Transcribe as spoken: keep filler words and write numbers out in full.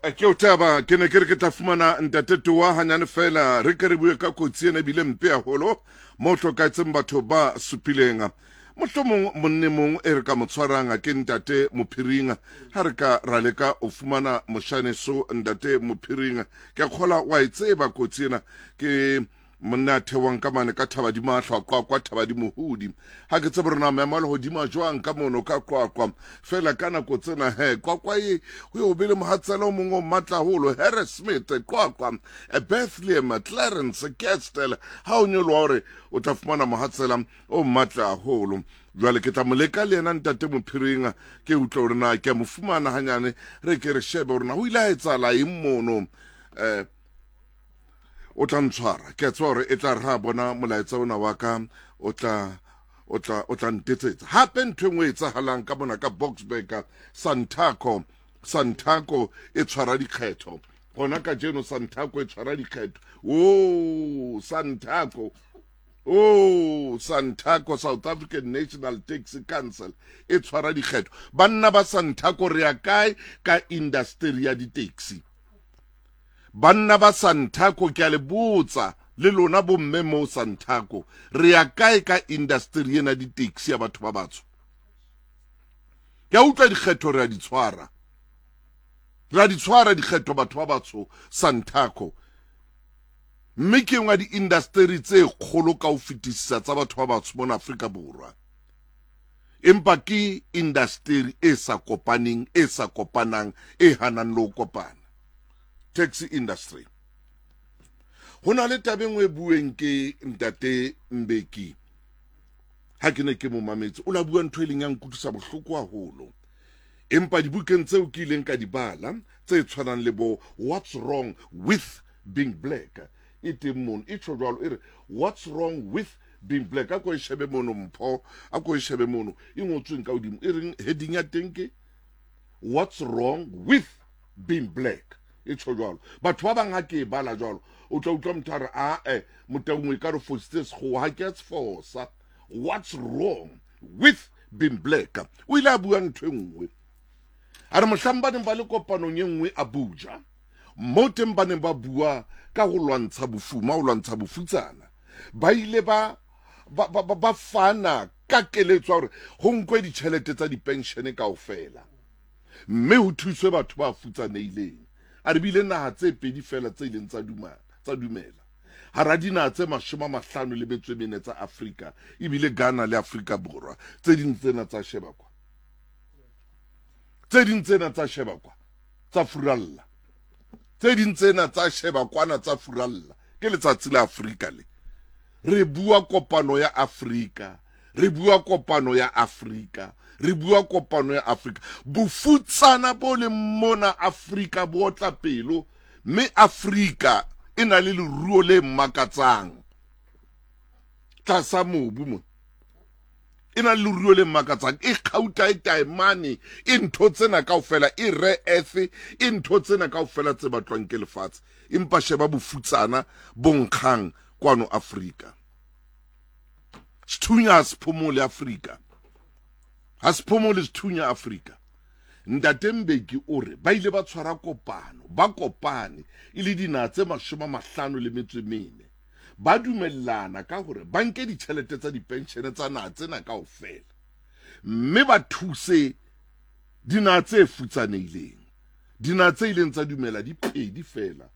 Ke o taba ke ne ke re ke tla fumana ntate Toa hanyane fela, re ke re bue ka kotsi ena ebile mpe haholo mo hlokahetseng batho ba supileng. Mohlomong monne mong e re ka mo tshwarang ke ntate Mophiring, ha re ka ra leka o fumana moshaneso ntate Mophiring. Ke a kgola wa e tseba kotsi ena, ke monna a theohang ka mane ka Thaba di Mahlwa, Qwaqwa, Thaba di Mohodi. Ha ke tsebe rona maemo a lehodimo a jwang ka mono ka Qwaqwa, fela ka nako tsena he Qwaqwa e ho yo be le mohatsela o mong o matla haholo. Harrismith, Qwaqwa, Bethlehem, Clarens, Kestell, ha o nyoloha hore o tla fumana mohatsela o matla haholo. Jwale ke tla mo leka le yena ntate Mophiring, ke utlwe hore na ke a mo fumana hanyane, re ke re shebe hore na ho ile ha etsahala eng mono. Eh o tla ntshwara, ke a tseba hore e tla re ha bona molaetsa ona wa ka, o tla o tla o tla ntetsetsa. Hape ntho e nngwe e etsahalang ka mona ka Boksburg, Santaco Santaco e tshwara dikgetho gona kajeno. Santaco e tshwara dikgetho, o Santaco, o Santaco, South African National Taxi Council e tshwara dikgetho. Banna ba Santaco, re ya kae ka industry ya di-taxi? Banna ba Santaco, ke a le botsa le lona bomme mo Santaco, re ya kae ka industry ena di-taxi ya batho ba batsho? Ke a utlwa dikgetho re a di tshwara, re a di tshwara dikgetho batho ba batsho Santaco, mme ke engwe ya di-industry tse kgolo ka ho fetisisa tsa batho ba batsho mona Afrika Borwa, empa ke industry e sa kopaneng, e sa kopanang, e hanang le ho kopana, taxi industry. Ho na le taba e nngwe e bueng ke ntate Mbeki, ha ke ne ke mo mametse, o la bua ntho e leng ya nkutlwisa bohloko haholo, empa dibukeng tseo ke ileng ka di bala tse tshwanang le bo What's Wrong with Being Black, e teng mono, e tjho jwalo, e re "What's Wrong with Being Black". A ko e shebe mono, Mpho, a ko e shebe mono e ngotsweng ka hodimo, e reng? Heading ya teng ke "What's Wrong with Being Black". E tjho jwalo. Batho ba bang ha ke e bala jwalo, o tla utlwa motho a re, "Ae, Motaung, e ka re fositse Sekgowa." Ha ke a se fosa. "What's Wrong with Being Black". O ile a bua ntho e nngwe, a re mohlang ba neng ba le kopanong e nngwe Abuja, mo teng ba neng ba bua ka ho lwantsha bofuma, ho lwantsha bofutsana, ba ile ba ba, ba, ba, ba fana ka keletso ya hore ho nkwe ditjhelete tsa dipenshene kaofela mme ho thuswe batho ba futsanehileng. A re bile naha tse pedi fela tse ileng tsa dumela tsa dumela hara dinaha tse mashome a mahlano le metso e mene tsa Afrika, ebile Ghana le Afrika Borwa. Tse ding tsena tsa sheba kwa, tse ding tsena tsa sheba kwa, tsa furalla. Tse ding tsena tsa sheba kwana, tsa furalla. Ke letsatsi la Afrika le re bua kopano ya Afrika, re bua kopano ya Afrika, re bua kopano ya Afrika. Bofutsana bo leng mona Afrika bo otla pelo, mme Afrika e na le leruo le makatsang tlasa mobu mo, e na le leruo le makatsang, e kgauta, e taemane, e ntho tsena kaofela, e rare earth, e ntho tsena kaofela tse batlwang ke lefatshe, empa sheba bofutsana bo nkgang kwano Afrika. Sethunya ha se phomole Afrika, ha se phomole sethunya Afrika. Ntate Mbeki o re ba ile ba tshwara kopano, ba kopane e le dinaha tse mashome a mahlano le metso e mene, ba dumellana ka hore ba nke ditjhelete tsa dipenshene tsa naha tsena kaofela mme ba thuse dinaha tse futsanehileng. Dinaha tse ileng tsa dumela di pedi fela.